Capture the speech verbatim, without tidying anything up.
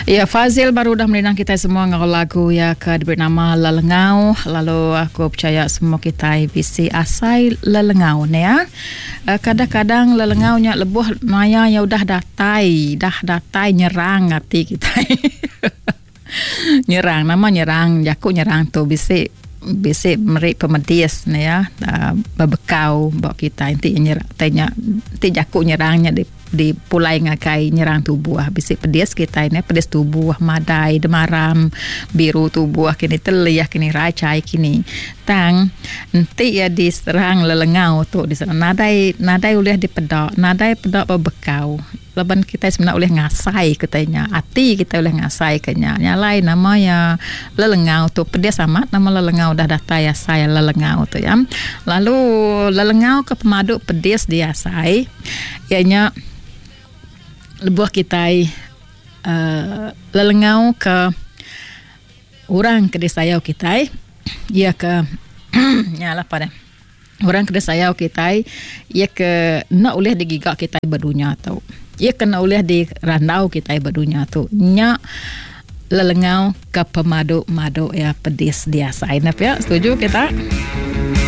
Ya, Fazil baru dah merindang kita semua ngau lagu ya ke diberi nama Lelengau. Lalu aku percaya semua kita bisi asai lelengau ni ya. Kadang-kadang lelengau nya lebuh maya ya udah datai, dah datai nyerang ati kita. Nyerang, nama nyerang, jaku nyerang tu bisi bisi meri pemedis ni ya, bebekau ba kita enti nyerang tanya enti jaku nyerangnya di di pulai ngagai nyerang tubuh bisi pedis kita ni, pedis tubuh madai demaram biru tubuh kini telih kini racai kini tang enti ya diserang lelengau tu diserang nadai nadai ulih dipeda, nadai peda bebekau laban kita sebenarnya ulih ngasai katanya ati kita ulih ngasai kenya nyalai nama ya lelengau tu pedis amat, nama lelengau dah datai asai lelengau tu ya. Lalu lelengau ke pemadu pedis diasai ianya lebuh kita uh, lelengau ke orang ke disayau kita ia ke nyalah pada orang ke disayau kita ia ke nak ulih digiga kita berdunia tu, ia kena ulih dirandau kita berdunia tu nya lelengau ke pemadu-madu ya pedis diasai. Nap ya, setuju kita?